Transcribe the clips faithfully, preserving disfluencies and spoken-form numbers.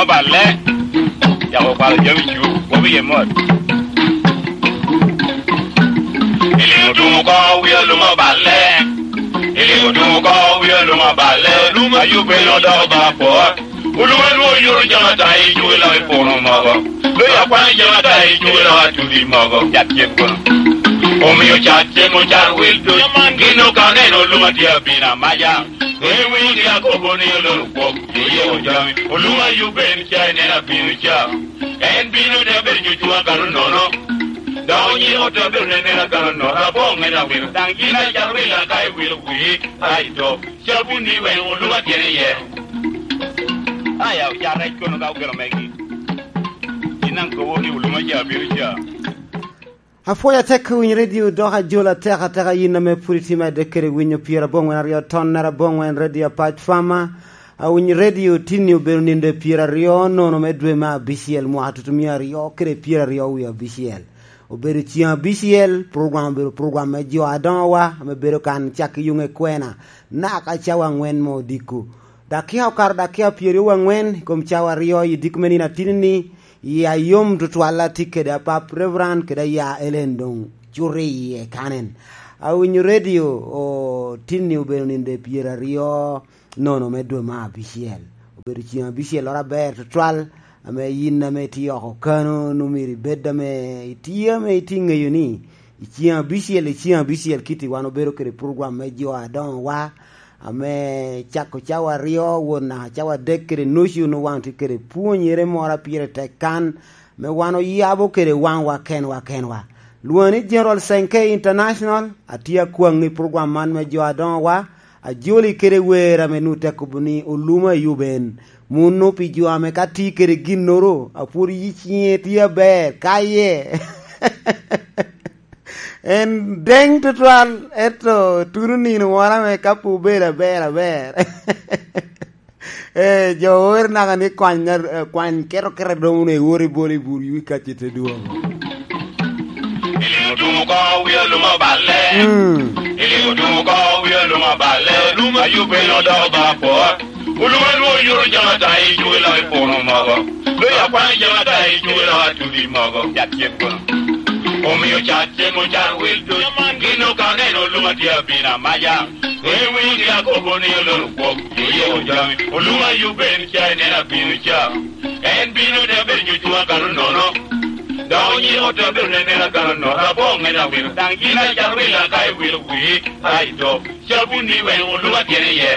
Oballe, yako kwalo jami cu, wobi ye mot. Iliŋo tumo ko wi oluma oballe. Iliŋo tumo ko wi oluma oballe. Oluma yubbe odoko ba apor. Oluma nwo yuro jama ta i cugi lok i puno mogo. Lo ya kwan jama ta i cugi lok atudi mogo. Yat cen kono. Omio cat cen mo car wil duc. Gin okaneno oluma tye abina maja. Ewinyo akobo ni oloro kwok, oye ojami, oluma yuben ca inen abino ca. En bino te bedo nyucwa kano nono. Dok nyiro te bedo nenena kano nono, aboŋ en awilo. Daŋ yin acalo wila ka iwilo wii, aito, cabun ni weŋ oluma tyene iye. Aya, oca rec kono ka okelo megi. Yin daŋ kobo ni oluma ca bino ca. Apwoyo atek winyo redio dok ajola atek ateka yin ame pwod itimo adek kede winyo pyerabongwen aryo tonnere abongwen redio Apac Fama. Awinyo redio tinni obedo nindo e pyeraryo nono me dwe me abicel mwaka tutumia aryo kede pyeraryo wie abicel. Obedo ciŋ abicel, program obedo program me jo adoŋowa ame bedo kan cak i yuŋ ekwena, naka cawa aŋwen me odiko. Dakia okato dakia pyeraryo wangwen i kom cawa aryo i diko me nino atinni, i ayom tutwal atye kede apap Reverend kede aya Ellen doŋ cuto iye kanen. Awinyo redio, o, tinni obedo ninde pyeraryo nono me dwe me abicel. Obedo ciŋ abicel loro aber tutwal, ame yin ame itye oko kano, nwoŋo myero ibed ame itye ame itye ŋeyo ni i ciŋ abicel, i ciŋ abicel kiti wan obedo kede program me jo adoŋowa, ame cako cawa aryo wot naka cawa adek kede nucu, nwoŋo wan tye kede pwonyere moro a pire tek kan, me wan oyabo kede waŋwa kenwa kenwa. Lwoŋa ni General Senke International, atye akwaŋ i program man me jo adoŋowa, ajoli kede wer ame nwoŋo tek kobo ni oluma i uben. Muno pi jo ame ka tye kede ginnoro, apwod yi ciŋe tye aber, kaye. En deŋ tutwal, ento tuno nino wora me ka pe obedo aber aber. Eh, jo wer naka ni kwany, eh, kwany keto kere domo ne wori boli bur yui kacce te duogo. Iliŋo tumo ko wi oluma balle. Mm. Iliŋo tumo ko wi oluma balle. Oluma yubbe odoko ba apor. Oluma nwo yuro jama ta i cugi lok i puno mogo. Lo ya kwano jama ta i cugi lok atudi mogo. Yat cen kono. Omio cat cen mo car wil duc. Gin okaneno oluma tye abina maja. Ewinyo akobo ni oloro kwok, oye ojami. Oluma yubbe en ca inen abino ca. En bino te bedo nyucwa kano nono. Dok onyiko te bedo nenena kano nono. Aboŋ en awilo. Daŋ yin acalo wila ka iwilo wii, aito. Cabun ni weŋ oluma tyene iye.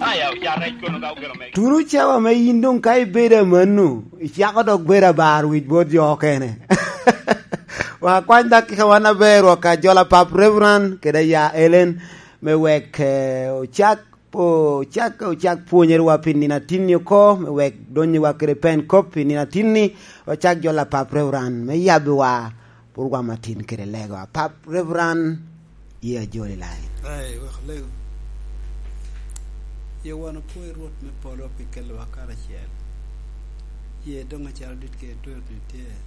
Aya, oca rec kono ka okelo mege. Turu cawa me yin doŋ ka ibedo amanno, icako dok bedo abar wic bot jo okene. Wa kwany dakika wan aber wa ka jola pap Reverend kede ya Ellen. Me wek, eh, ocak, ocak, ocak pwonyerwa pi nino atinni oko, me wek donnyiwa kede pen kop pi nino atinni, ocak jo lapap Reverend me yabbiwa purwa matin kede lego. Apap Reverend, ye ajoli lain. Ai, wek olego. Ye wan opwoyo Rwot me polo pi kelowa karacel. Ye doŋ acalo dit kede twer ni tye.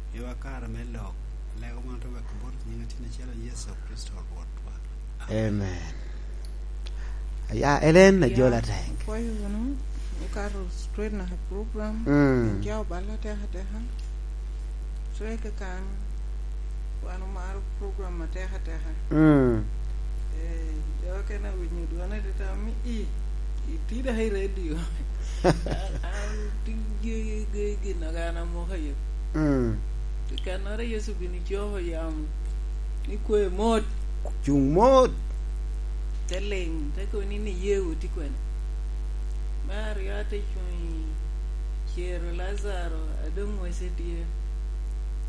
Miwa kare me lok, lego man te weko bot nyiŋ atin acel a Yecu Kricito Rwotwa. Amen. Amen. Aya, Ellen, ajola thank. Pwoyo wunu, okato straight na program. Mm. Nja oballa teka teka. So, eke kan, wan omaro program ateka teka. Mm. Eh, jo okene awinyo dwone teta mi i, iti dok i radio. An, an, ti gi, gi, gi, gin a an amoko aye. Mm. Pi kannoro Yecu gin icoko yamo, ni kwe mot. Cuŋ mot. Te liŋ, te kobo ni, ni iye woti kwene. Me aryo ate cuŋ i cero Lazaro, a doŋ wece tye.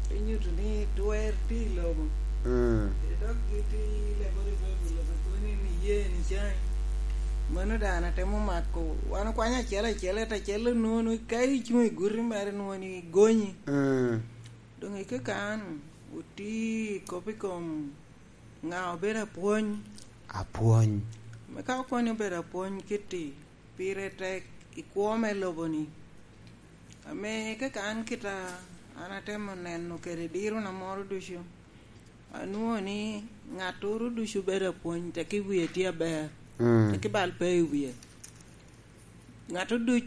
Te nyuto ni twer tye i lobo. Mm. Dok giti lebo i Baibul, obe kobo ni, ni iye ni caŋ. Mano dano atemo mako. Wan okwanyo acel acel, ento acel onwoŋo ni ka icuŋ i guti mere, nwoŋo ni igonyi. Mm. Doŋ ike kan, oti kop i kom ŋa obedo apwony. Apwony. Me ka okobo ni obedo apwony kitti, pire tek i kwo me lobo-ni. Ame kaka an kita, an atemo neno kede dirona moro ducu, anwoŋo ni ŋattoro ducu bedo apwony, teki wie tye aber, mm, teki bal pe i wie. Ŋat oduc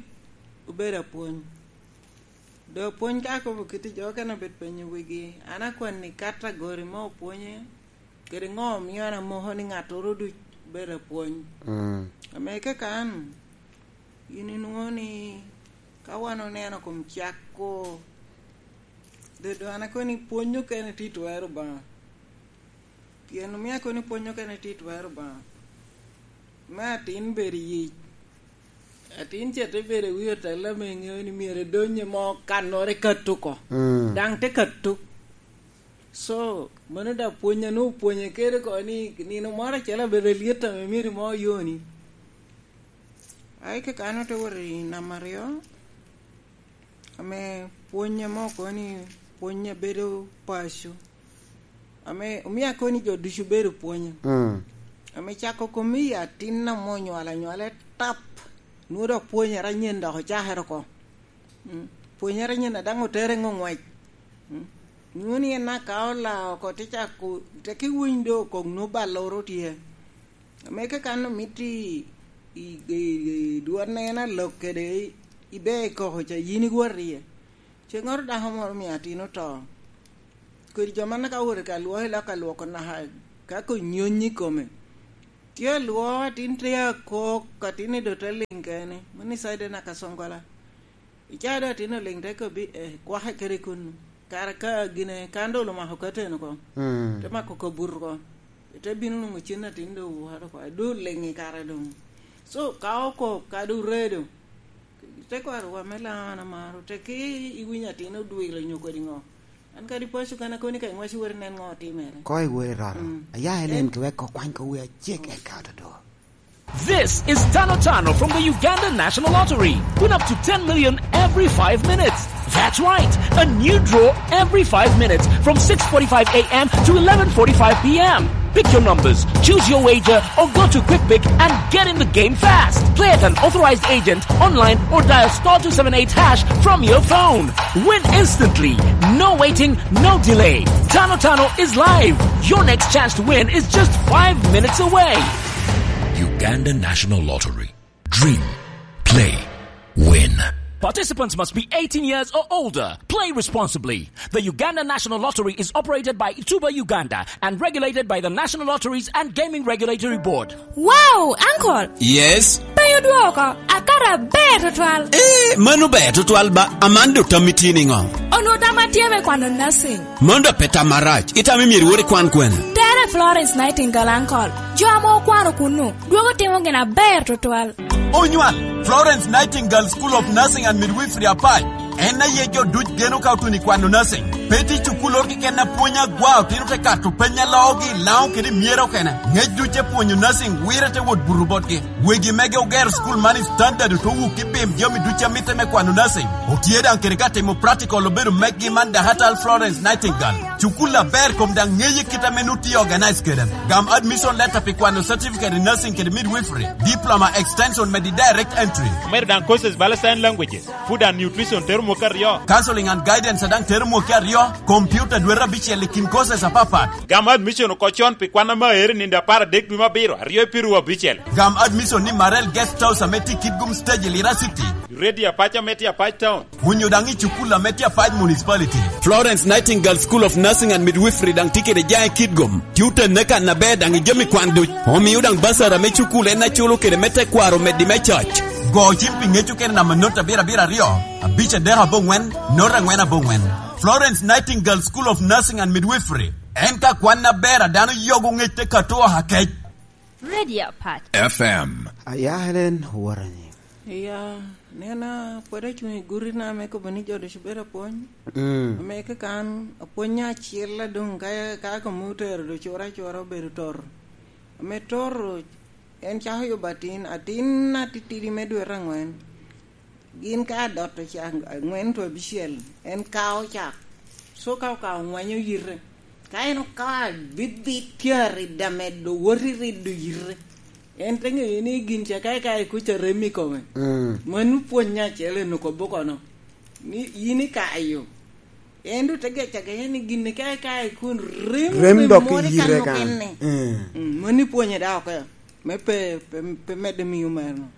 obedo apwony. Doŋ apwony ka akobo kit i jo okene obed penyo wigi, an akwanni kat agori ma opwonye, kede ŋo omio an amoko ni ŋattoro duc bedo apwony? Mm. Ame kaka an, yin inwoŋo ni ka wan oneno kom cakko, dodo an akobo ni pwony okene tye i twero Obaŋa. Pien omio akobo ni pwony okene tye i twero Obaŋa. Me atin bedo i yic. Atin ca te bedo i wi otella ame ŋeo ni myero edonye mo kannoro ekato oko. Mm. Daŋ te kato. So, mano daŋ pwony a nwoŋo opwonye kede oko ni nino moro acel abedo alyet ame myero mo oyoni. Ai, kaka an ote wot i namba aryo, ame pwony ame okobo ni pwony a bedo paco, ame omio akobo ni jo ducu bedo pwonyo. Mm. Ame cako kom i atin ame onywalo anywala tap, nwoŋo dok pwonyere anyen dok ocakere oko. Mm. Pwonyere anyen a daŋ otere ŋo ŋwec. Mm. Nwoŋo ni en aka ola oko te cako, te ki winy do kok nwoŋo balloro tye. Ame ka kan omito i, i, i, i dwon en alok kede i, ibe i koko ca, yin iwot iye. Ceŋŋoro dako moro omio atin oto. Kodi jo man ka owoto ka lwoko i lok alwoko naka ka konyonyi i kome. Tye alwoko atin tye akok, atin i dote liŋ kene. Mano i caide naka Songola. Icaa doŋ atin oliŋ te kobbi, eh, kwake kede kunnu. Kara ka gine kan doŋ omako kateni oko. Mm. Te mako kabut oko. Te bino nwoŋo cen atin doŋ owuoro oko. Doŋ oliŋ i kare doŋ. So, ka oko, ka doŋ redo, te kwaro wa me Laŋo an amaro, te ki iwinyo atin odwilo nyo kodi ŋo. An kadi paco kan akoni ka iŋwaci wot inen ŋo otimere. Ko iwot iroro. Mm. Aya Helen, eh, kiwek ko kwany ko wi acek eka ododo. This is Tano Tano from the Uganda National Lottery. Win up to ten million every five minutes. That's right, a new draw every five minutes from six forty-five a m to eleven forty-five p m. Pick your numbers, choose your wager, or go to Quick Pick and get in the game fast. Play at an authorized agent, online, or dial star two seven eight hash from your phone. Win instantly. No waiting, no delay. Tano Tano is live. Your next chance to win is just five minutes away. Uganda National Lottery. Dream, play, win. Participants must be eighteen years or older. Play responsibly. The Uganda National Lottery is operated by Ituba Uganda and regulated by the National Lotteries and Gaming Regulatory Board. Wow, uncle! Yes? Pe odwoko, akato aber tutwal. Eh, mano ber tutwal ba, Amando tammi tye niŋo? Onwoŋo tamma tye me kwano nursing. Mano dok pe tam marac, itamo myero iwot ikwan kwene? Tere Florence Nightingale, uncle. Jo ame okwano kunnu, dwogo timo gin aber tutwal. Onywal, Florence Nightingale School of Nursing and Midwifery Apac. En aye jo duc geno ka otuno i kwano nursing. Pe tye cukulloro keken a pwony agwa otino te kato peny a loogi i Laŋo kede i Myero okene. Ŋec duc te pwonyo nursing wire te wot buto botgi. Wegi mege ogero cukul man i standard oto wuk i pim jami duc a mitte me kwano nursing. Otye daŋ kede ka timo practical obedo meggi man Dahatal Florence Nightingale. Cukul aber kom daŋ ŋeye kit ame nut tye organize kede. Gam admission letter pi kwano certificate in nursing kede midwifery, diploma extension medi direct entry. Medo daŋ courses bala sign languages, food and nutrition tero mwaka aryo. Counseling and guidance a daŋ tero mwaka aryo, computer dwete abicel i kin courses apapat. Gam admission oko con pi kwan ame aero i nino apar adek dwe me abiro, aryo i piru abicel. Gam admission ni Marel Guest House ame tye i Kitgum Stage i Lira City. Ready Apac ame tye Apac Town. Onyo daŋ i cukul ame tye Apac Municipality. Florence Nightingale School of Nursing and Midwifery daŋ tye kede jaŋ i Kitgum. Tye otenne kan aber daŋ i jami kwan duc. Omio daŋ basara me cukul en aculo kede me tekwaro meddi me coc. Go cim pi ŋec okene namba not abiro abiro aryo, abic adek aboŋwen, not aŋwen aboŋwen. Florence Nightingale School of Nursing and Midwifery. En ka kwan aber a dano yogo ŋec te kato oha kec. Radio Pat. F M. Aya Helen Warani. Iya, nena, pwod acuŋ i gutina me kobo ni jo ducu bedo apwony. Mm. Ame kaka an, apwony acel adoŋ ka, ka komo otero do cura acura obedo toro. Ame toro, en cako yubo atin, atin atitidi me dwe aŋwen. Gin ka adot ocak aŋwen to abicel, en kao cak. So ka okao ŋwenyo yite. Ka en okao abibit tye aridda medo wot i riddo yite. En te ŋeyo ni gin ca ka ikayo kuc arem i kome. Mm. Mano pwony acel en okobo kono. Ni yin ikayo. En doŋ te gec agenya ni gin ka ikayo kun rem, rem dok moro i yite kan. Mm. Mm, mano ipwonye dok oko. Me pe, pe, pe medde miyo meno.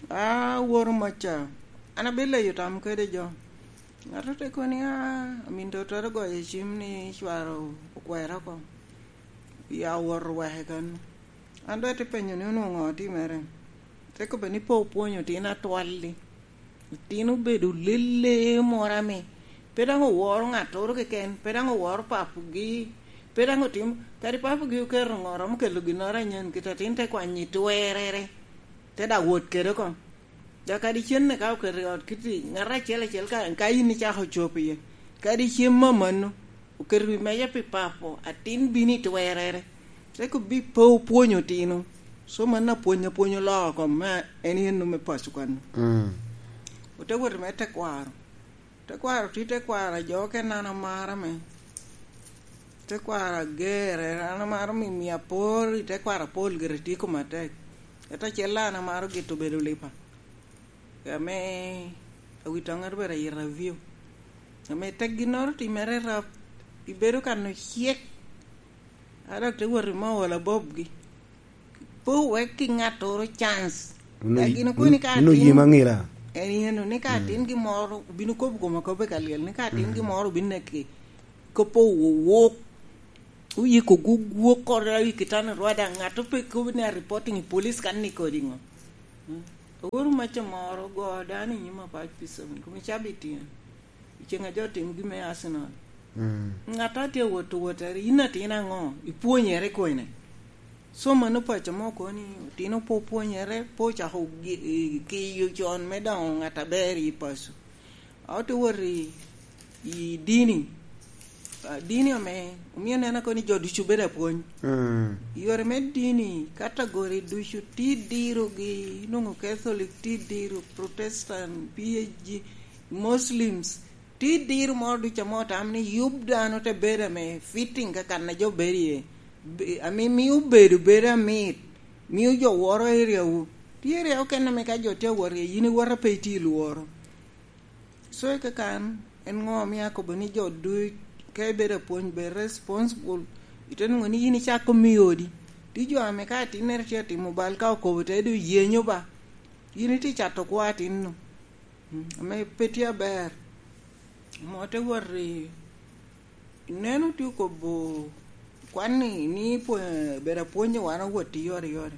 A, woro maca, an abileyo tam kede jo. Ŋat te kono ni, "A, amin totoro goyo cim ni cwaro okwero oko, ya owoto weke kan." An doŋ ate penyo ni onwoŋo ŋo otimere. Te kobbe ni pe opwonyo otino atwal-li. Otino obedo lele moro ame pe daŋ oworo ŋattoro keken, pe daŋ oworo papugi, pe daŋ otimo, kadi papugi oketo ŋo, romo kelo ginnoro anyen, kit atin te kwanyo i twerrere, te daŋ wot kede oko. Dok kadi cenne ka oketo i ot kiti, ŋat acel acel ka, ka in icako cobo iye, kadi cem amanno, oketo wi meja pi papo, atin bino i twerrere. Te kobbi pe opwonyo otino. So, mano apwony apwony oloo kom me en yen me paco kan. Mm. Ote wot me tekwaro. Tekwaro tye tekwaro a jo okene an amaro me. Tekwaro ager, an amaro mi, mi apor i tekwaro apol gire tye koma tek. Ento acel an amaro gito bedo lipa. Ame awito aŋar bedo ayito avio. Ame tek ginnoro timere rap, ibedo kan ocek. A dok te wot i me olo abobgi. Pe owek ki ŋattoro chance. Unu Dok yi-, gin okoni unu, ka unu atin, yim aŋila. En yen ni ka Mm. atin gin moro, obino kobo koma kobbe ka lyel, ni ka atin Mm. gin moro obino neki, kopo owok, oyiko gugwok kore i kitani rwada, ŋat ope kobo ni a reporting i police kan ni kodi ŋo. Mm. Oworo maca moro go dano i nyim apac pi seven, kome cabit tyen. I ceŋ a jo tim gin me Arsenal. Mm. Ŋat a tye awot, wot eri, in atin aŋo? Ipwonyere kwene? So, mano paco mo kono ni otino pe opwonyere, pe ocako gi-, i-, kiyo con me doŋo ŋat aber i paco. A ote wot i, i dini. A, dini ame omio neno kono ni jo ducu bedo apwony. Mm. Yore me dini, katagori ducu, ti dirogi, inwoŋo Catholic, ti diro Protestant, P H G, Muslims, ti diro moro ducu ame otamo ni yub dano te bedo ame fitting ka kan a jo bedo iye. Be-, ame mio bedo, bedo amit, mio jo woro area wu. Tye area okene ame ka jo tye awot iye, yin iwoto pe itye i lworo. So, i kakan, en ŋo omio akobo ni jo duc, ka ibedo apwony, bed responsible, ite nwoŋo ni yin icako miyo odi. Tye jo ame ka atinnere tye atimo bal, ka okobo te doŋ yenyo ba, yin itye cato kwo atinno. Mm, ame pe tye aber. Mo te wot i Ineno, tye okobo kwan ni, ni pwo-, bedo apwony wan owot i yore yore.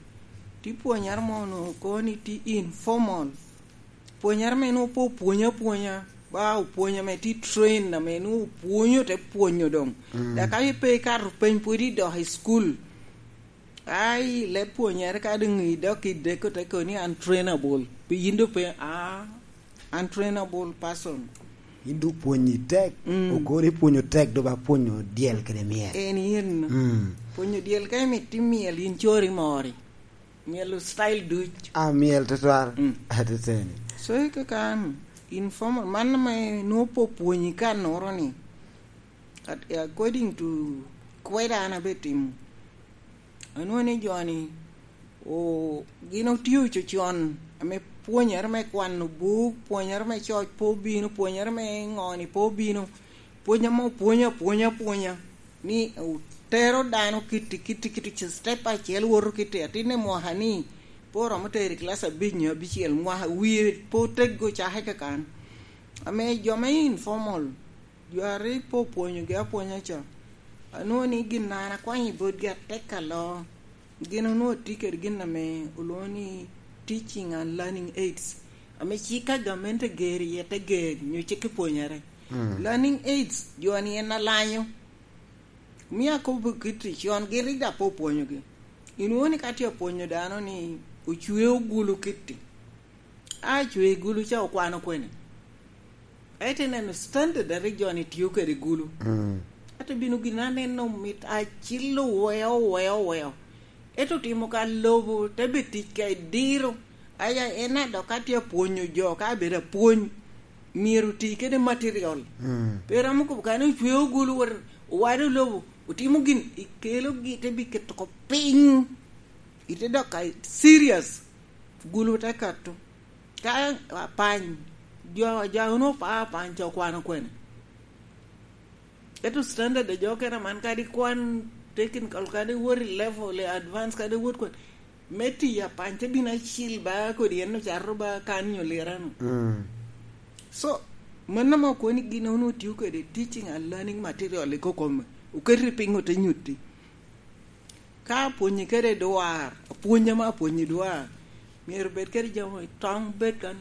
Tye pwonyere mo onwoŋo kono ni tye informal. Pwonyere me nwoŋo pe opwonyo apwonya, ba opwony ame tye trained, ame nwoŋo opwonyo te pwonyo doŋ. Mm. Dok ka pe ikato peny pwod idok i cukul, ai, leb pwonyere ka doŋ idok i deko te kono ni untrainable. Pi yin doŋ pe, a, untrainable person. Yin doŋ pwonyi tek, Mm. okor ipwonyo tek, doŋ ba pwonyo dyel kede myel. En yen. Mm. Pwonyo dyel ka imito imyel, in cori mori. Myelo style duc. A, myel tutwal. Mm. Ateteni. So, i kakan, informal, man ame nwoŋo pe opwonyi ka noro ni. At-, according to kweda an abe timo. Anwoŋo ni jo-ni, o, gin otye ococon, ame pwonyere me kwano buk, pwonyere me coc pe obino, pwonyere me ŋo-ni pe obino, pwony ame opwonyo apwonya apwonya, ni otero dano kitti, kitti, kitti, ci step acel woto kitti, atin i mwaka ni, pe oromo tero i kilac abic nyo abicel, mwaka wie pe oteggo cake kakan. Ame jo me informal, jo a rik pe opwonyogi apwonya ca, anwoŋo ni gin an akwanyo i botgi atek aloo. Gin onwoŋo tye kede gin ame olwoŋo ni teaching and learning aids, ame cik a gamente gero iye te ger nyo cik i pwonyere. Mm. Learning aids, jo-ni en alanyo. Omio akobo kit i con, gin rik daŋ pe opwonyogi. Inwoŋo ni ka tye apwonyo dano ni ocwe ogulu kitti, a cwe ogulu ca okwano kwene? Ento ineno standard a rik jo-ni tio kede gulu. Mm. Ento bino gin aneno mit acilo weo, weo, weo. Ento otimo ka lobo, te bed tic ka idiro. Aya, en a dok ka tye apwonyo jo, ka abedo apwony, myero oti kede material. Mm. Pe romo kobo ka ni ocweo gulu, wot owado lobo, otimo gin, ikelogi, te biketo oko piny. Ite dok ka serious, gulu te kato. Ka apany, jo, jo a onwoŋo pa apany ca okwano kwene? Ento standard a jo okene man, kadi kwan technical, kadi wot i level i advance, kadi wot kwan. Me tiyo apany te bino acil ba kodi en ocato ba kan nyo lirano. Mm. So, mano ma okoni gin onwo tio kede teaching and learning material i kokome. Oketi piny ote nyutti. Ka apwonyi kede dwar, apwony ame apwonyi dwar, myero bed kede jami tong bed kan,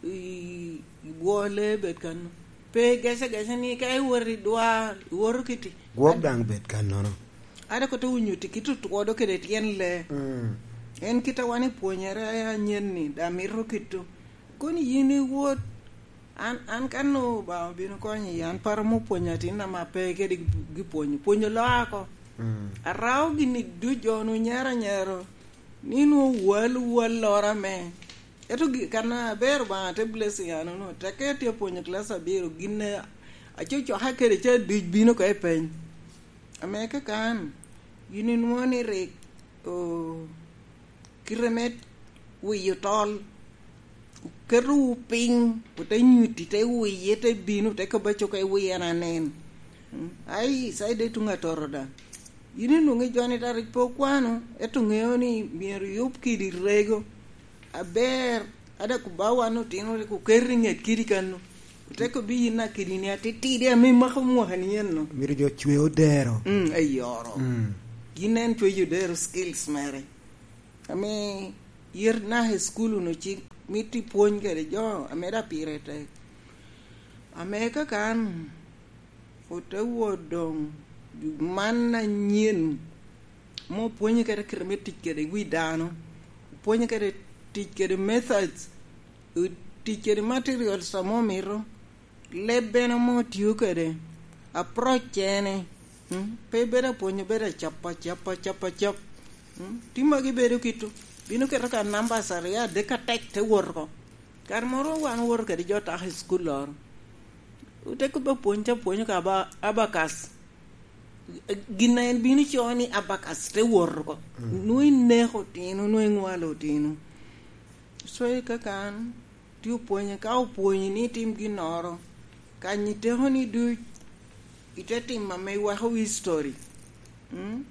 i, i bwole bed kan. Pe gece gece ni ka iwoto i dwar, iwoto kiti. Gwok daŋ bed kannono. Ada kote onyutti kit otwodo kede tyen lee. Mm. En kit a wan ipwonyere anyen ni, da mito kito. Koni yin iwot, an, an kan Obaŋa obino konyo yi, an paro mo pwonyo atin ama pe kede gi, gi pwonyo. Pwonyo loa ako. Mm. Arao gini duc jo nu nyero anyero. Ni nu wal, wal lora me. Eto gi, kan aber Obaŋa te blessing ano nu. Teke tye pwonyo class abiro, gin a, aco coka kede ca duc bino ko i peny. Ame kakan, yin inwoŋo ni rik, o, kite me wiyo tol, oketowu piny, ote nyutti, te wiye, te bino, te kobba coka i wiye en anen. Mm, ai, Icaya de tuŋ atoro da. Yin inwoŋo i joni da rik pe okwano, ento ŋeo ni myero yub kidi rego. Aber, ada kuba wan otino rik oketo i ŋet kidi kano. Ote kobbi yin akidi ni atitidi ame imako mwaka ni eno. Myero jo cwe odero. Mm, eyoro. Mm. Gin en cweyo odero skills mere. Ame yet naka i school unu cik mito ipwony kede jo ame da pire tek. Ame kakan ote wot doŋ man anyen, mo pwonyo kede kite me tic kede wi dano, pwonyo kede tic kede methods, tic kede materials ame omito, leb bene ame otio kede, approach ene, mm, pe bedo apwonyo, bedo acap, acap, acap, acap. Mm, ti magi bedo kito, bino keto ka numbers aryo adek atek te wot oko. Kare moro wan owoto kede jo tak i cukul loro. Ote kobbe apwony ca pwonyo ka aba-, abacus. Gin a en bino co ni abacus te wot oko. Mm. Nwoŋo ineko otino, nwoŋo iŋwalo otino. So, i kakan, ti opwonyo, ka opwonyi ni itim ginnoro, kanyi tekoni duc, ite timo ame iweko history. Mm?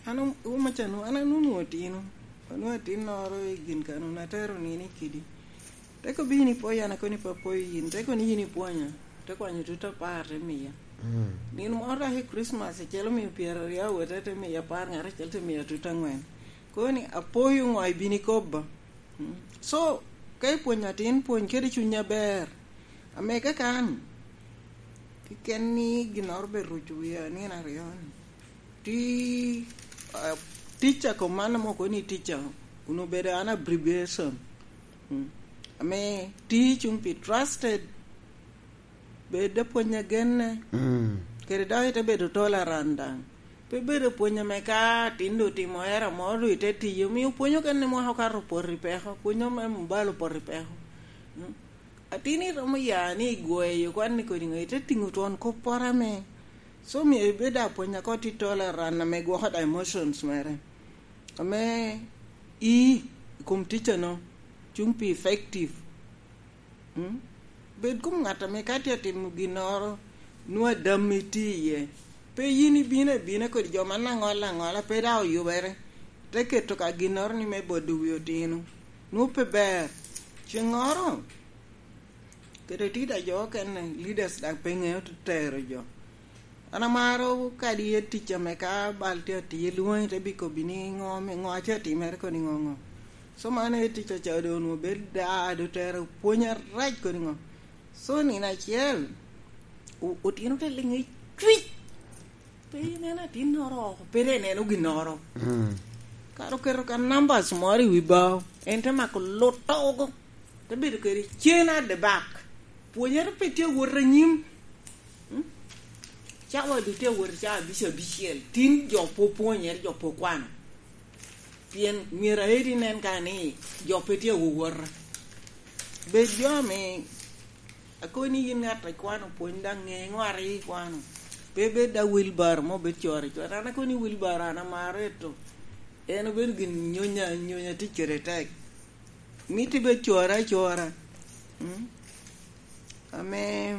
An om-, omaca nu, an anunu otino. Anunu atinnoro i gin kano, atero nino i kidi. Te kobbi ni ipwoyo, an akoni pe apwoyo yin. Te koni yin ipwonya. Te kwanyo tut apar, te miya. Mm. Nino moro dok i Christmas, acel omio pyeraryo awete, te miya apar, ŋat acel te miya tut aŋwen. Koni, apoyo ŋo ibino ikobba? Mm. So, ka ipwonyo atin, pwony kede cuny aber. Ame kakan, keken ni ginnoro be ruco wia nino aryo ni. Ti, ah, teacher kom man ame okoni teacher, kun obedo an abbreviation. Mm. Ame ti cuŋ pi trusted, bed apwony agenne. Mm. Kede dok ite bedo tolerant daŋ. Pe bedo pwony ame ka atin doŋ otimo era moro doŋ ite tiyo, omio pwony okene mwaka okato opoto i peko, pwony ame mobile opoto i peko. Mm. Atin iromo ya ni igweyo kwan ni kodi ŋo, ite tiŋo twon kop poro ame. So, myero ibed apwony ako ti tolerant ame gwoko da emotions mere. Ame i, i kom teacher no, cuŋ pi effective. Mm? Bed kom ŋat ame ka tye atimo ginnoro, nwoŋo adammi tye iye. Pe yin ibino abina kodi jo man aŋola aŋola, pe daŋ oyubere. Te keto ka ginnoro ni me bodo wi otino. Nwoŋo pe ber. Ceŋŋoro, kede tida jo okene, leaders daŋ pe ŋeo tero jo. An amaro kadi i tic ame ka bal tye atiye, lwoŋi te bikobbi ni ŋo me, ŋo a tye atimere koni ŋo ŋo. So man aye tic aca doŋ onwoŋo bed daa, doŋ tero pwony arac koni ŋo. So nino acel, o-, otino te liŋ i cwic. Pe ineno atinnoro oko, pe dong ineno ginnoro. Mm. Kara oketo ka numbers moro i wi bao, en te mako lut oko. Te bedo kede cen at the back. Pwonyere pe tye awot anyim. Mm? Cawa doŋ tye awot cawa abic abicel. Tin jo pe opwonyere, jo pe okwano. Pien myero aeti nen ka ni jo pe tye awowota. Bed jo ame, akoni yin ŋat a kwano pwony, daŋ ŋe ŋo a rik ikwano. Pe bed da wheelbarrow mo bed coro icoro. An akoni wheelbarrow an amaro eto. En obedo gin nyonya, nyonya tic kede tek. Mito ibed cora acora. Mm? Ame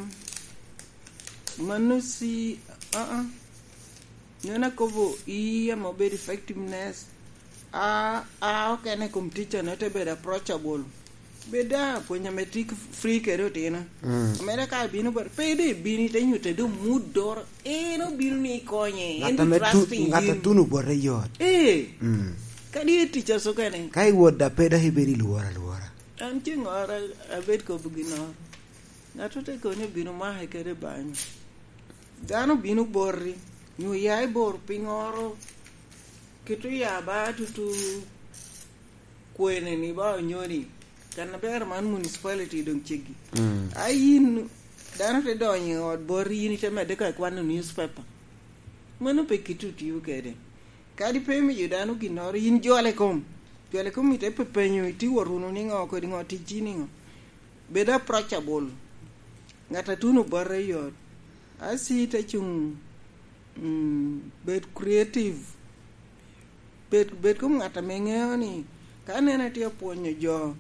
mano si, aa. Nyono akobo i ame obedo effectiveness. A, a okene i kom ticca-nu te bedo approachable. Bed daŋ apwony ame tye free kede otino. Mm. Mere ka abino bot, pe doŋ ibino ite nyutte doŋ mood doro. En obino ni ikonye. En Ŋat doŋ ame tu-, trusting ŋat yin. Atuno bote yot. Ee. Mm. Kadi i ticca so kene. Ka iwot da pe dok ibedo i lworo alwora. An ceŋŋoro abed kobo ginnoro. Ŋat te koni obino make kede banyo. Dano obino boti, nyo ya i bor piŋoro, kit oya ba tutu kwene ni ba onyoni, kan aber man municipality doŋ ceggi. Mm. A yin, dano te donyo i ot boti, yin ite medde ka kwano newspaper. Mano pe kit otio kede. Kadi pe imiyo dano ginnoro, yin jole kom. Jole kom ite pepenyo, iti wot wunu niŋo, kodi ŋo, ticci niŋo. Bed approachable. Ŋat atuno bote yot. Asi te cuŋ, mm, bed creative. Bed, bed kom ŋat ame ŋeo ni, ka nene tye apwonyo jo,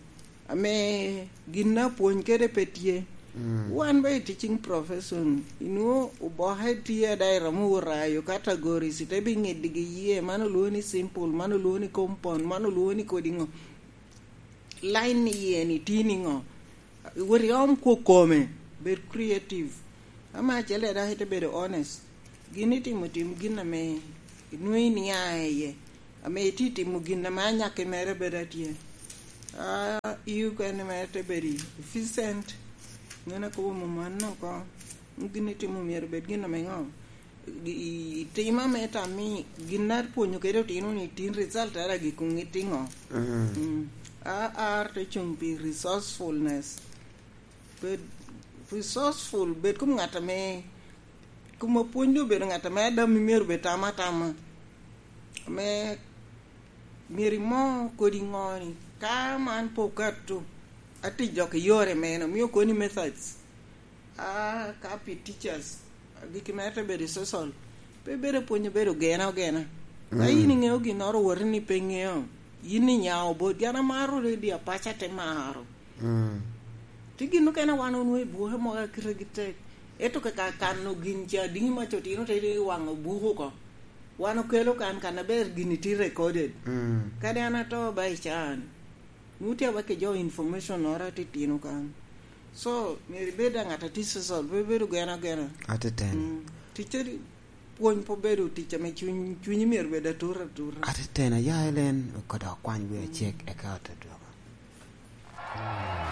ame gin apwony kede pe tye. Mm. Wan ba i teaching profession, inwo oboke tye ada iromo orayo categories, ite bi ŋedigi iye, man olwoŋo ni simple, man olwoŋo ni compound, man olwoŋo ni kodi ŋo. Line ni iye ni tye ni ŋo. Wot iom kwo kome, bed creative. Ama acel ada ite bedo honest. Gin itimo, tim gin ame inwoŋo inia iye. Ame itye timo gin ame anyakke mere bedo atye. A, i okene mere te bedo efficient. Ŋen akobo mom mano oko. Gin itimo myero bed gin ame ŋo? I, i tim ame tam ni gin apwonyo kede otino ni tin result ara gik ŋit iŋo? Mm. Mm. A, ar te cuŋ pi resourcefulness. Bed resourceful, bed kom ŋat ame, kom apwony doŋ obedo ŋat ame adam myero bed tam atama. Ame myero imo kodi ŋo ni, ka man pe okato, ati dok i yore mene, omio koni methods. A, ka pi teachers, gik mere te bedo i social, pe bedo pwony, bedo gena ogena. Ka Mm. in iŋeo ginnoro, woti ni pe iŋeo, yin inyao bot, yan amaro redi apaca te maro. Mm. Ti gin okene wan onwoŋo i buke mogo akitegi tek. Ento ka, ka kano gin ca dini mac otino te i waŋ buku oko. Wan okelo kan, kan aber gini ti recorded. Mm. Kadi an ato ba i can. Nwoŋo tye awek ki jo information oro atitino kan. So, myero ibed a ŋat a tye social, pe bedo gena gena. Atitino. Mm. Ticce di, pwony pe obedo tic ame cuny, cunyi myero bed atur atura. Atitino, aya Elen, kodok kwany wi acek, eka ote dwogo.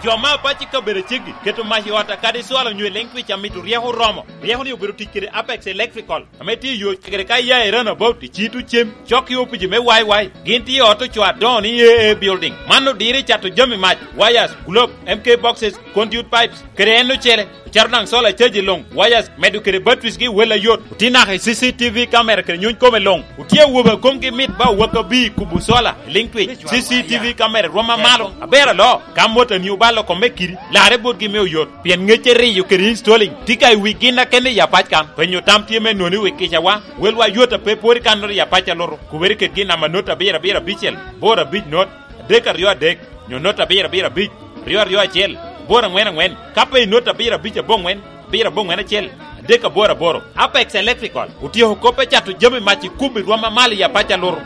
Jo ma apac i kabedo aceggi keto mac i ot akadi cwalo nyo i leŋ twic amito ryeko oromo. Ryeko ni obedo tic kede Apex Electrical, ame tye i yo cegere ka iya i Runabout i Cito Cem, cok i opici me Y Y. Gin tye i ot ocoo adoŋo ni A A Building. Man odiro i cato jami mac, wires, globe, M K boxes, conduit pipes, kede en ocele. Ocato daŋ solar charge i luŋ, wires, medo kede batteries gi wel ayot. Otye naka i C C T V camera kede nyony kome luŋ. Otye awobe a komgi mit ba owak abir kubo solar i liŋ twic. C C T V camera rwom amalo, aber alo. Ka mot a ni obalo kome kidi, larre botgi me oyot. Pien ŋecce riyo kede installing tye ka i wi gin akene i apac kan. Penyo tam tye me noni wi kicawa, welwa yot a pe pwod i kannoro i apac alutu. Kubere kede gin namba not abiro abiro abicel, boro abic not, adek aryo adek, nyo not abiro abiro abic, aryo aryo acel, boro aŋwen aŋwen, ka pe i not abiro abic aboŋwen, abiro aboŋwen acel, adek aboro aboro. Apex Electrical otyeko kop me cato jami mac i kubo i rwom amalo i apac alutu.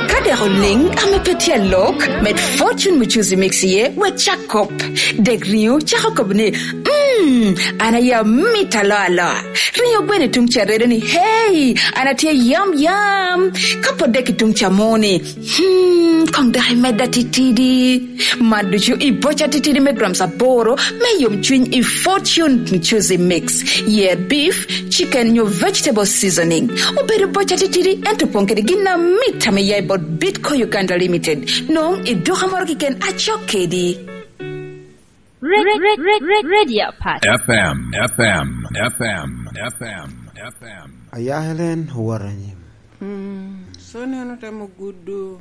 Ka dek oliŋ ame pe tye alok, med Fortune Muchuzi Mix iye, wek cak kop. Dek riŋo cako kop ni, "Mm, an aye amit alo alo." Riŋo gweno i tuŋ ca redo ni, "Hey, an atye yam yam." Ka pwod dek i tuŋ ca mo ni, "Hmm, koŋ dek imedda titidi." Man ducu i boca titidi me grams aboro me yomcwiny i Fortune Muchuzi Mix. Yer beef, chicken nyo vegetable seasoning. Obedo boca titidi, ento opoŋ kede gin amit ame ya i bot Bitco Uganda Limited. Nwoŋo i duka moro keken acok kedi. Red, red, red, red, Radio Pat. F M, F M, F M, F M, F M. Aya Helen, owot anyim. Mm, so neno temo gudo,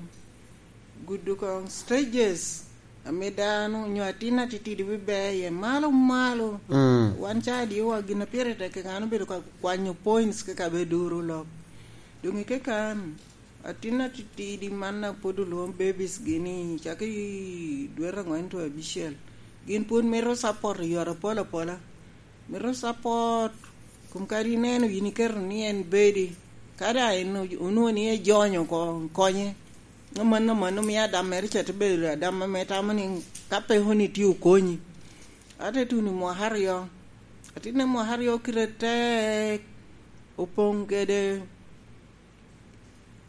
gudo kong stages, ame dano, nyo atin atitidi bibeye, malo, malo. Mm. Wan ca adiowa gin a pire tek kekano bedo ka kwanyo points keka be duro lok. Doŋ i kekan, atin atitidi man a pwod olwoŋo babies gi ni, cako i dwe aŋwen to abicel, gin pwod mito support i yore apol apola. Mito support, kom kadi ineno yin iketo ni en bedi, ka daŋ en o-, onwoŋo ni ejonyo oko, konye. Amanno, amanno mio adam mere ca te bedo adam ame tamo ni ka pe kono itye okonyi. Ate tuno i mwaka aryo. Atin i mwaka aryo kite tek, opoŋ kede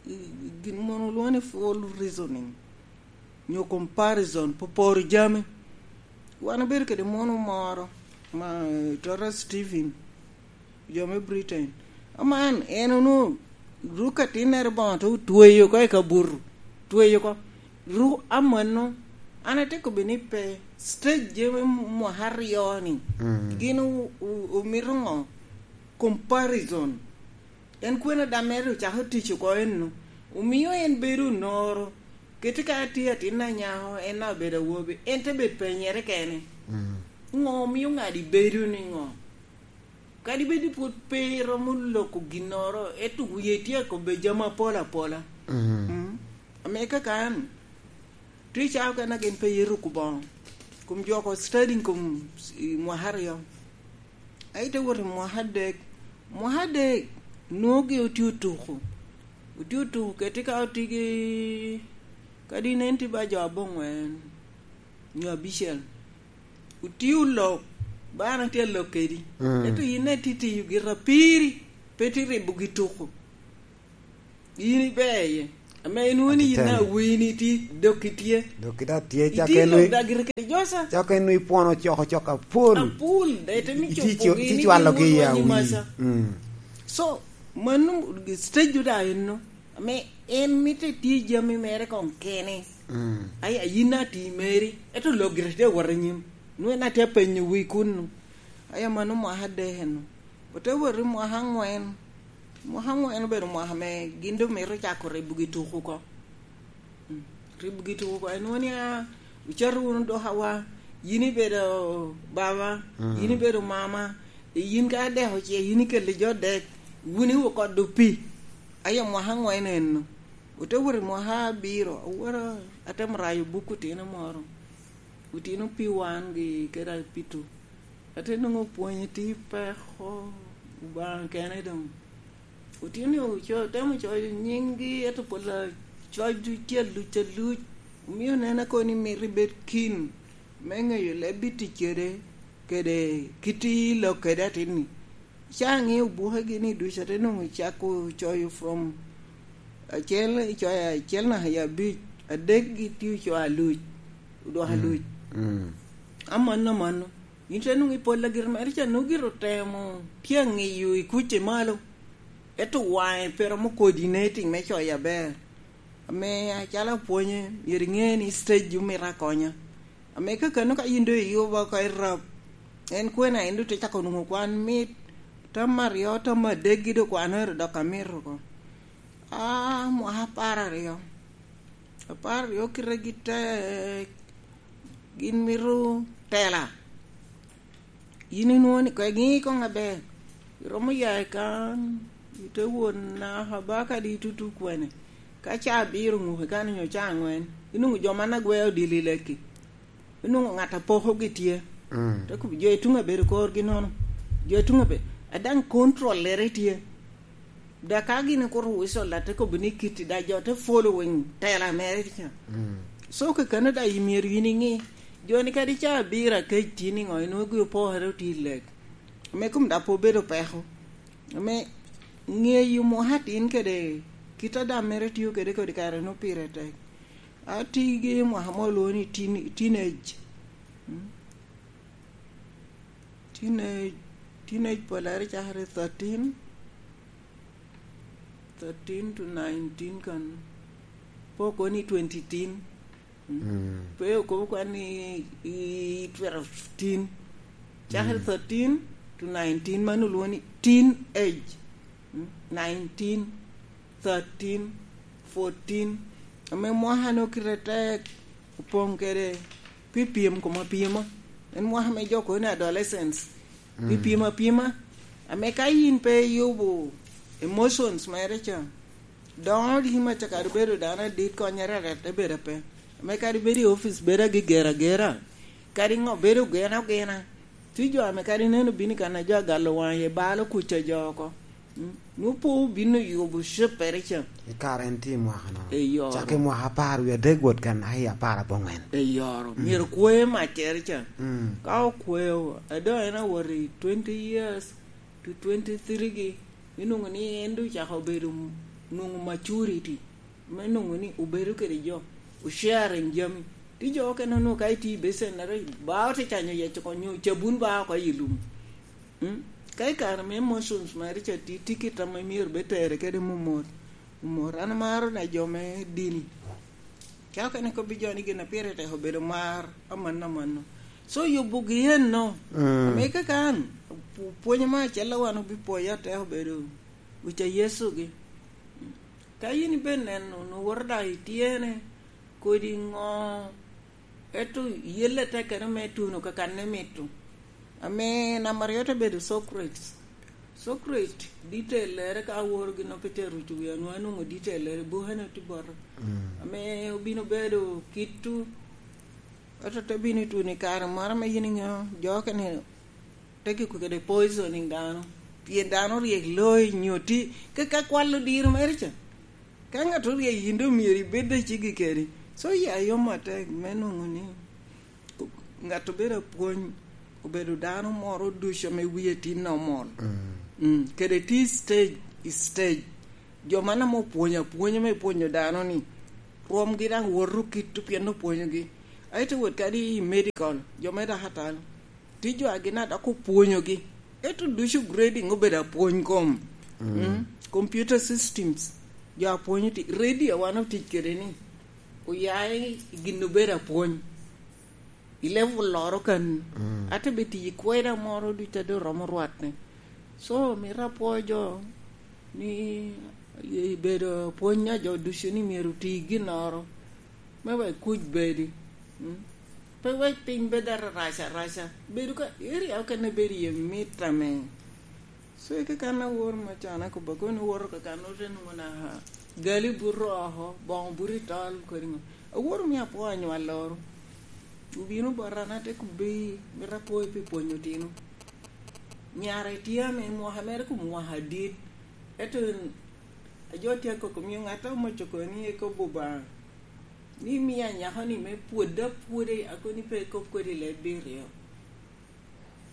i, i gin mono olwoŋo ni full reasoning, nyo comparison, poporo jami. Wan obedo kede mono moro, ma, eh, Torres Stephen, jo me Britain. Aman, en onwoŋo ruk atinnere boŋo te otweyo oko i kabuto, tweyo oko. Ruk amanno, an atye kobbi ni pe, stage me mwaka aryo-ni, mm, gin o-, o-, omito ŋo? Comparison. En kwene adam mere ocako tic oko enno, omio en bedo onoro. Keti ka atye atin anyako, en daŋ obedo awobi, en te bedo penyere kene. Mm. Ŋo omio ŋadi bedo ni ŋo? Kadi bed ni pwod pe iromo loko ginnoro, ento wie tye akobbe jami apol apola. Mm. Mm. Ame kaka an, tye cawa okene gin pe ye ruko boŋo. Kom jo oko studying kom i mwaka aryo. Ai, te wot i mwaka adek. Mwaka adek, nwoŋo gi otye otuko. Otye otuko keti ka otye gi, kadi nen tye ba jo aboŋwen, nyo abicel. Otye olok, ba an atye alok kedi. Mm. Ento yin ne tye tiyo gira piri, pe tye ribo gi tuko. Yin iber iye. Ame inwoŋo ni yin awini tye, dok itye. Dok ita tye, cak itye en lok wi-, da gire kede joca. Cak en wi pwono coko cok apol. Apol, da ite mi iti copo co-, gini iti cwalo gi ya wi. Masa. Mm. So, mano stage da enno. Ame en mitte tye jami mere kong kene. Mm. Ai, ayin ati meri. Eto lok gire tye wot anyim. Nwe na tye apenyo wi kunnu. Ai, amano mwaka adek enno. Ote wot i mwaka angwen. Mwaka angwen obedo mwaka ame gin doŋ mito cako ribo gi tuko oko. Mm. Ribo gi tuko oko. Enwoŋo ni, a, wucito wunu dok awa, yin ibedo baba, mm, yin ibedo mama, e yin ka adek oce, yin ikelo jo dek, wun iwo kodo pi. Aye mwaka angwen enno. Ote wot i mwaka abiro, aworo atemo rayo buk otino moro. Otino P one gi kede P two. Ate nwoŋo pwonye tye peko, Obaŋa kene doŋ. Otino oco-, temo coyo nyinggi, ento pol acoc ducu aluc aluc. Omio nena kono ni mito ibed keen me ŋeyo leb itic kede, kede kit i lok kede atin-ni. Ca ŋeo bukegi ni ducu, ate nwoŋo cako coyo from acel, icoyo acel naka i abic, adek gi tye ocoyo aluc, odoko, mm, aluc. Mm. Amanno, amanno. Yin te nwoŋo i pol agir mere ca, nwoŋo gire otemo tye aŋiyo i kuc i malo. Ento waŋe pe romo coordinating me coyo aber. Ame acalo apwonye, myero iŋe ni stage omito akonya. Ame kakano ka yin doŋ iyubo oko i rab, en kwena en doŋ te cako nwoŋo kwan mit, tam aryo, tam adek gi doŋ kwanere dok amito oko. Ah, mwaka apar aryo. Apar aryo kite gi tek, gin mito tela. Yin inwoŋo ni, "Kwe ŋi koŋ aber." Iromo ya i kan, ite wot naka ba kadi itutu kwene. Ka ca abiro ŋuke kan onyo ca aŋwen, inwoŋo jo man agweo odilo i leki. Inwoŋo ŋat apokogi tye. Mm. Te kobo, "Jo i tuŋ abedo korgi nono. Jo i tuŋ abe-, a daŋ controllere tye." Da ka gin ikuto whistle, da te kobo ni kiti, da jo te following tela mere ca. Mm. So, kakano da i myero yin iŋi. Jo ni kadi ca abiro akec tin i ŋo, inwoŋo gin opokere otye i lek. Ame kom da pe obedo peko. Ame ŋeyo mwaka atin kede kit a dam mere tio kede kodi kare no pire tek. Ati gi mwaka mo olwoŋo ni teen-, teenage. Mm. Teenage, teenage polare cakere thirteen, thirteen to nineteen kan. Pe okobo ni twenty teen. Mm. Mm. Pe okobo kwan ni i twelve teen. Cakere, mm, thirteen to nineteen, mano olwoŋo ni teen age. Mm. Nineteen, thirteen, fourteen. Ame mwaka no kite tek, opoŋ kede pi pyem kom apyema. En mwaka me jo kono ni adolescence. Pi, mm, pyem apyema. Ame ka yin pe iyubo emotions mere ca, doŋo di ma ca kadi obedo dano adit, konyere aret te bedo ape. Ame kadi bedo i office, bedo agigera agera. Kadi ŋo, bedo ogena ogena. Tye jo ame kadi neno bino i kan a jo agalo waŋ iye, balo kuca jo oko. Mm. Nwoŋo pe obino yubo cippere ca. I kare en tye i mwaka no. Eyoro. Cak i mwaka apar wie adek wot kan, ai, apar aboŋwen. Eyoro. Mm. Myero kwe maccere ca. Mm. Ka okweo, ado en awot i twenty years to twenty-three gi, inwoŋo ni en doŋ ocako bedo m-, nwoŋo maturity. Me nwoŋo ni obedo kede jo, o-sharing jami. Tye jo okene onwoŋo ka itye i basin, ento ba ote canyo yec oko, nyo cabun ba oko i lum. Mm? Ka i kare me emotions meri ca, ti, ti kit ame myero be tere kede momot. Momot. An amaro na jo me dini. Ka okene kobbi jo ni gin a pire tek obedo mar, amanno, amanno. So, yubogi enno. Mm. Ame kaka an, pu-, pwony mo acel a wan obipwoyo atek obedo uca Yecu gi. Ka yin ibe neno, nwoŋo woto dak ityene, kodi ŋo, ento yelle tekere me tuno kakanne mito. Ame namba aryo te bedo Socrates. Socrates, detail lere ka aworo gin ope te ruco wi anwa nwoŋo detail lere, bukene tye bote. Mm. Ame obino bedo kitu, ento te bino i tuno i kare moro ame yin iŋeo, jo okene te kiko kede poisoning dano, pien dano ryek loi nyo ti, ka, ka kwal odiro mere ca. Ka ŋat oryek yin doŋ myero ibed a ceggi kedi. So, ya yom atek me nwoŋo ni ŋat obedo apwony, obedo dano moro ducu ame wie tye normal. Mm. Mm, kede tye stage, i stage. Jo man ame opwonyo apwonya me pwonyo dano ni, rwomgi daŋ woto kit pien opwonyogi. Aye te wot kadi i medical, jo me dakatalo. Tye jo a gin a dok opwonyogi. Ento ducu grading obedo apwony kom. Mm. Mm. Computer systems. Jo apwonyo ti-, radio wan otic kede ni. Oya i gin obedo apwony. I level loro kan. Mm. Ate be tiyo i kweda moro ducu a doŋ romo rwatne. So, mito apwo jo ni, i bedo apwony a jo ducu ni myero oti ginnoro. Me wek kuc bedi. Mm. Pe wek piny bed arac araca. Bedo ka, area okene bedo iye mit ame. So, i kakan awor me can akobba, kono iwoto kakan ote nwoŋo naka gali buto oko, boŋo buto i tol, kodi ŋo. Awor omio apwo anywal loro. Obino bota, an ate kobbi, mito apwoyo pi pwonyo otino. Nyare tye ame mwaka mere kom mwaka adit. Ento ajo tye akoko, omio ŋat a omoco koni ekobo Obaŋa. Ni mia nyako ni me pwod apwoda, akoni pe ekop kodi leb biryo.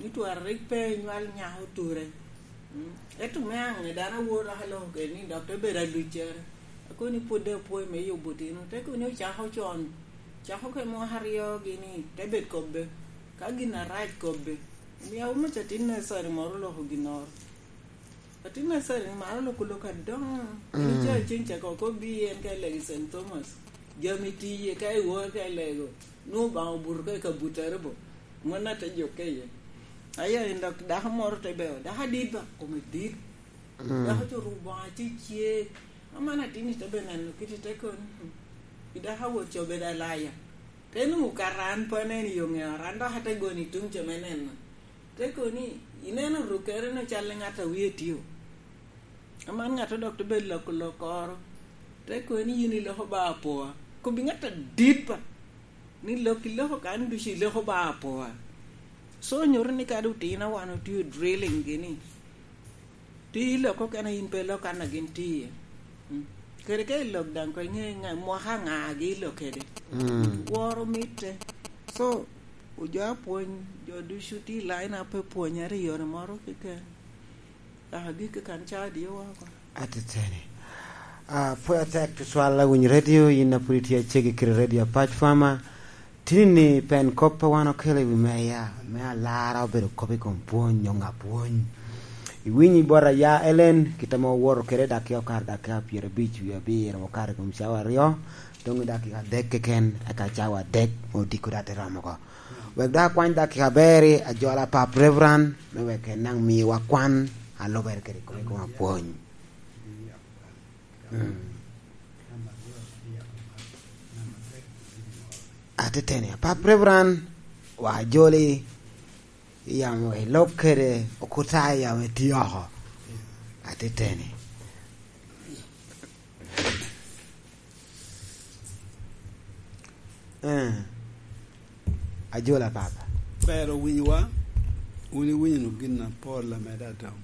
Ni twara rik pe enywal nyako ture. Mm. Ento me aŋe dano awor aka loko kede ni dok te bedo aluccere. Akoni pwod apwoyo me yubo otino. Te koni ocako con. Cako ke mwaka aryo gini te bed kobbe. Ka gin arac kobbe. Omio awomo ca tin necessary moro loko ginnoro. Atin acel ni maro loko lok adoŋo. Mm. Ni ca cen cako oko bi en ka ilego i Saint Thomas. Jami tiye ka iwor ka ilego. Nwoŋo Obaŋa obuto ka i kabutere bo. Mon ate jukke iye. Aya en dok dako moro te beo. Dako adit ba, kome dit. Mm. Dako co oruko boŋo acecek. Aman atin ite be neno kit ite kono. I dako awot co bedo alaya. Te nwoŋo kara an pe aneno i yo ŋeo, an dok ate goni tuŋ ce me neno. Te kono ni, ineno rukere-nu cal i ŋat a wie tio. Aman ŋat dok te bedo loko lokoro. Te kono ni yin iloko ba apoa. Kobbi ŋat adit ba. Ni lok iloko kan ducu iloko ba apoa. So nyuto ni kadi otino wan otio drilling gini. Ti ilok okene in pe ilok kan a gin tye iye. Mm. Kede ka ilok daŋ ko iŋe ŋa, mwaka ŋa gi ilok kede. Mm. Woro mitte. So, ojo apwony, jo ducu ti line up pe pwonyere i yore moro keken. Aka gik kan ca dio woko. Atiteni. Ah, pwod atek tutwal awiny radio, yin a pwod itye acegi kede radio Apac Farmer. Tini-ni pen kop a wan okelo i wi meya, me alara obedo kop i kom pwony, nyo ŋa pwony. Iwinyo i bot aya Ellen, kit ame owoto kede dakika okato dakika pyerabic wie abiro, okato i kom cawa aryo, dong i dakika adek keken, eka cawa adek me odiko dok te romo oko. Wek dok akwany dakika aber-ri, ajola pap Reverend, me wek en daŋ miwa kwan a lubere kede kop i kom apwony. Mm. Atiteni, apap Reverend, wa ajoli, yamo i lok kede okuta yamo iti oko. Atiteni. Eh. Ajola papa. Ber owinyowa, wun iwinyo gin apol ameda doŋ.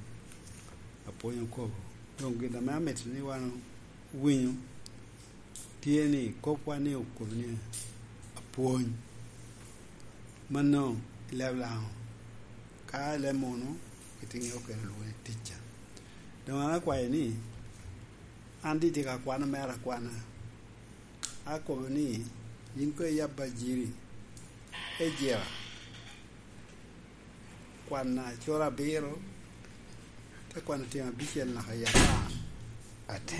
Apwony okobo. Doŋ gin ame amito ni wan owinyo tye ni, kopwa ni okobo ni apwony. Mano i leb Laŋo? Ka i leb munu, itiŋeo kede olwoŋo ni ticca. Doŋ an akwayo ni, an tye ka kwano mere akwana. Akobo ni, yin koŋ iyab ajiri, ejira, kwan acoro abiro, te kwano tyen abicel naka i apar. Ate.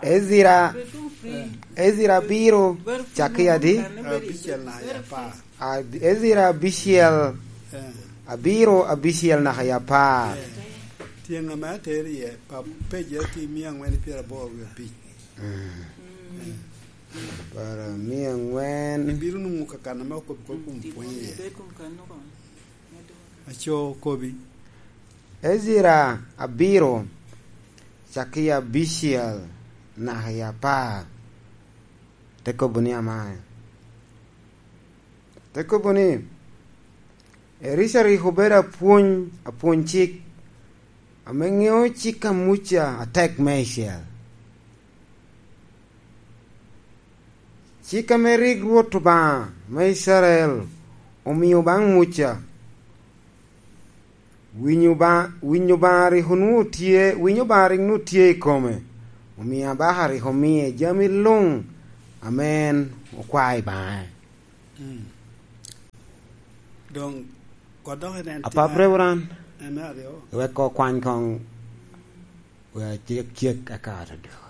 Ezira, Ezira abiro, cakki adi? Abicel naka i apar. A-, Ezira abicel, eh, abiro, abicel naka i apar. Eh. Tyen ame ateri iye, pa pejere tye mia aŋwen i pyeraboro wie abic. Mm. Eh. Para mia aŋwen. Ibino nwoŋo kakan ame okobo kop kom pwony iye. Aco okobi. Ezira abiro, cakki abicel naka i apar. Te kobo ni amae. Te kobo ni, Erica rik obedo apwony, apwony cik, ame ŋeo cik a Muca atek meicel. Cik ame rik Rwot Obaŋa me Icrael omio baŋ Muca. Winyo Obaŋa, winyo Obaŋa rik onwoŋo tye, winyo Obaŋa rik onwoŋo tye i kome. Omio abaka rik omie jami luŋ ame en okwao i baŋe. Mm. Doŋ kodok en Apap tye Reverend, en me aryo. Wek okwany koŋ, wek acek cek akato dok.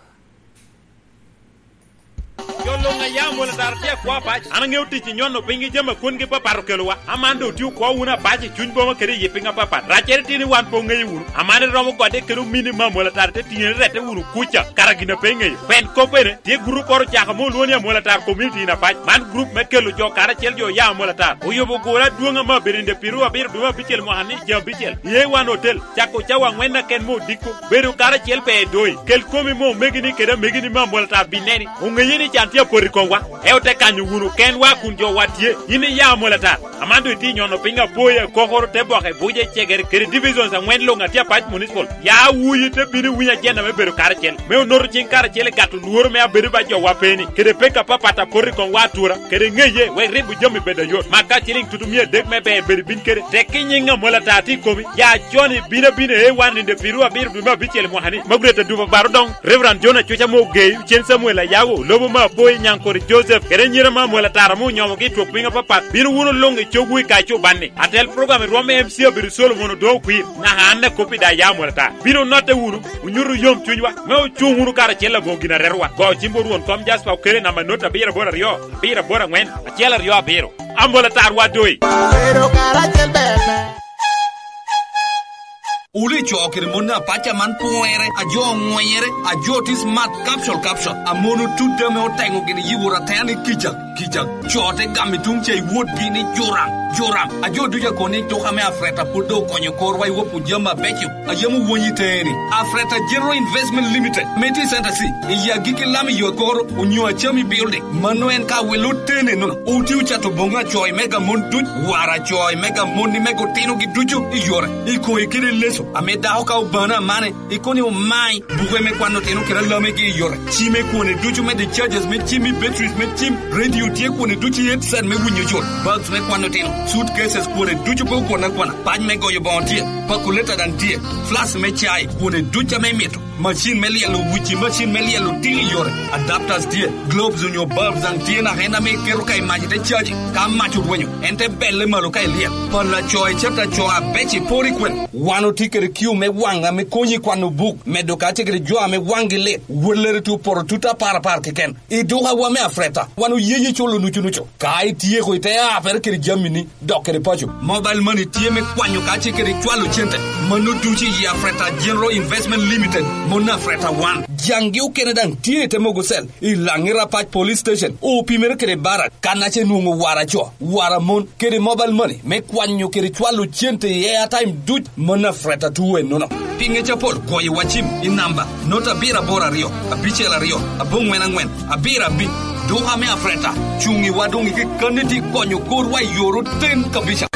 Jo luŋ a ya Amwol Atar tye akwo apac. An aŋeo tic i nyono piny ki jami a kwongi papat okelowa. Aman doŋ otye okwo wunu apac i cuny boma kede i yi piny apapat. Raccere tye ni wan pe oŋeyo wunu. Aman iromo gode kede omini me Amwol Atar te tiŋe ni rette wunu kuca, kara gin a pe iŋeyo. Pien kop ene, tye gurup oro ocako ame olwoŋo ni Amwol Atar Community in Apac. Man gurup me kelo jo karacel jo oya Amwol Atar. Oyubo gure adwoŋ ame abedo i nde pirwu abiro dwe me abicel mwaka ni, jami abicel. I A one Hotel, cako cawa aŋwen aken me odiko. Bedo karacel ber doŋ. Kel komi me omegini kede amegini me Amwol Atar bineni. Oŋeye ni can tye apot i komwa. Ento te kanyo wunu kenwa kun jowa tye. Yin iya Amwol Atar. Aman doŋ itye nyono piny Apoya, Kokoro, Teboke, Buca, Cegere, kede divisions aŋwen luŋ a tye Apac Municipal. Ya wuyi te bino iwiny ajenda me bedo karacel, me onoto ciŋ karacel i gato lworo me abedo ba jowa pe-ni, kede peko apapat a poto i komwa atura, kede ŋeye, wek ribo jami bed ayot. Mak ka ciliŋ tutu mia adek me ber bedo bin kede, tek i nyiŋ Amwol Atar tye i komi. Ya con ibino abina i A one i nde pirwu abiro dwe me abicel i mwaka-ni. Magret Aduba Baro Doŋ, Reverend John Acuca ame ogeyo, Cen Samuel Ayago, Lobo me Apoya, Nyaŋkori Joseph, kede anyira me Amwol Atar ame onyomogi i twok piny apapat, bino wunu luŋ i cogwu i Kaco Banni. Atel program i rwom me M C obedo Solomon Odongo Okwir, naka an akop i daŋ ya Amwol Atar. Bino onotte wunu, onyutu yom cunywa, me ocuŋ wunu karacel aboŋo gin a retowa. Go cimwu Rwon kom Jasper Okele namba not abiro aboro aryo, abiro aboro aŋwen, acel aryo abiro. Amwol Atar wa doŋ. Bedo karacel ber ber. Wule co kede mon apac aman pwere, a jo oŋwenyere, a jo tye smart, capsule, capsule. A mon otut ame oteŋo gin yibo ratena ni kica, kica. Co te gamo i tuŋ ca i wotgi ni juram, juram. A jo ducu akobo ni tuka me Afreta pwod doŋ okonyo korwa i wopo jami abeco. A yam owonyi teni. Afreta General Investment Limited, me tye i Center C, i agikki lam i yo koro, onyo Achami Building. Mano en ka welo tene nono. Oti ocato boŋo acoy mega mon duc, wara acoy mega mon ni mega otinogi ducu i yore. I koyi kede leso, ame dako ka obano amane, ikono ni omai, buke me kwano otino kede alamegi i yore. Cime kwone ducu me the charges me cim i batteries me cim, radio tye kwone ducu i headset me winyo yot, bags me kwano otino, suitcases kwone ducu pe okwana kwana, pac me goyo boŋo tye, calculator daŋ tye, flask me cai, kwone ducu ame imito. Macin me lyelo wuci, macin me lyelo tino i yore, adapters tye, globes onyo bulbs daŋ tye naka en ame iketo ka i mac ite caji. Ka mac orwenyo, en te belle malo ka ilyel. Pala co i cata co abeco i pori kwene. Wan otye kede kiu me waŋ ame konyi i kwano buk, medo ka tye kede jo ame waŋgi lit, wellere tye opoto tut apar apar keken. I dukawa me Afreta, wan oyeyi culo nucu nucu. Ka ityeko ite apere kede jamini, dok kede paco. Mobile money tye me kwanyo ka tye kede cwalo cente. Mano ducu i Afreta General Investment Limited, mon Afreta One. Jaŋgi okene daŋ tye i te mogo cell, i Laŋi Rapac Police Station, opimere kede barak, kan ace nwoŋo wara co, wara mon, kede mobile money me kwanyo kede cwalo cente i airtime duc, mon Afreta two ennono. Pi ŋec apol, goyo wa cim i namba not abiro aboro aryo, abicel aryo, aboŋwen aŋwen, abiro abiny. Duka me Afreta, cuŋ i wa doŋ i kekkanni tye konyo korwa i yor oten kabisa.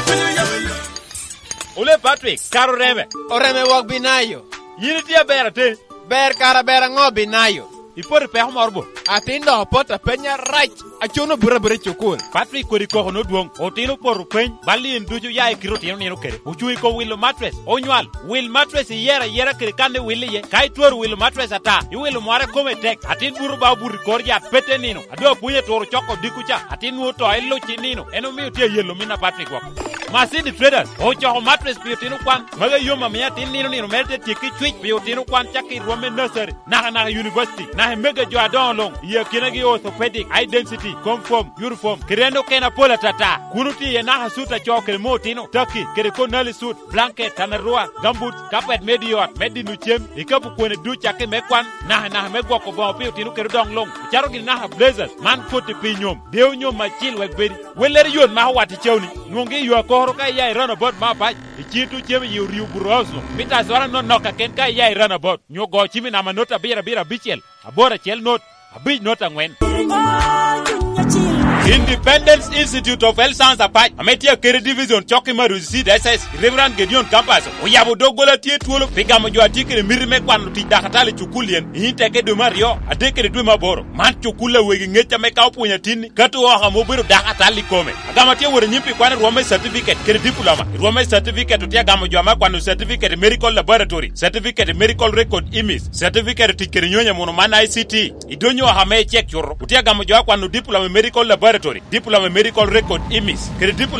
Ole Patrick, kara oreme. Oreme wok binayo. Yin itye aber ateni. Ber kara ber aŋo, Binayo? Ipoto i peko moro bo? Atin dok opoto apeny arac. Acuno buto abuta i cukul. Patrick kodi koko nodwoŋ. Otino opoto peny, bal i en ducu ya i kite otino nino kede. Ocuŋ i kom wilo matres. Onywal, wil matres iyero ayera kede kan iwil iye. Ka itwero wilo matres ata, iwilo mware kome tek. Atin buto ba obuto i kor yat pete nino. A doŋ apwony aturo coko odiko ca, atin nwoŋo to iluc i nino. En omio tye ayelo min a Patrick woko. Masidi Traders ocoko matres pi otino kwan. Magi ayom amiyo atin nino nino mere te tyekki cwic pi otino kwan cakki i rwom me nursery, naka naka i university, naka i mege jo adoŋo luŋ, i akinagi orthopedic, high density, comfort, uniform, kede en okene apol atata. Kun otye iye naka sut acoo kede moo otino, taki, kede konali sut, blanket, tanarua, gambut, kapet me di ot, me dino cem, ikapu kwene duc cakki me kwan, naka naka me gwoko boŋo pi otino kede odoŋ luŋ. Ocato gini naka blazers, man koti pi nyom, dewo nyom acil wek bedi. Wellere yot mako wat i cawni, nwoŋgi i yo akoro ka iya i roundabout me apac, i cito cem i orio buto oso, mita azora nonok kaken ka iya i roundabout, nyo go cimi namba not abiro abiro abicel, aboro acel not, abic not aŋwen. Independence Institute of Health Science Apac, ame tye akede division cok i Maruzi Seed S S, Reverend Gedeon Campus, oyabo doggola tye twolo pi gamo jo a tye kede miti me kwano tic dakatali i cukul yen, i teke dwe me aryo, adek kede dwe me aboro. Man cukul a wegi ŋec ame ka opwonyo atinni, kato oko ame obedo dakatali i kome. Agamo tye wot anyim pi kwano i rwom me certificate kede diploma. I rwom me certificate otye agamo jo ame akwano certificate i medical laboratory, certificate i medical record image, certificate i tic kede nyonyo muno man I C T. I donyo oko ame icek cuto, otye agamo jo akwano diploma i medical laboratory, diploma i medical record image, kede diploma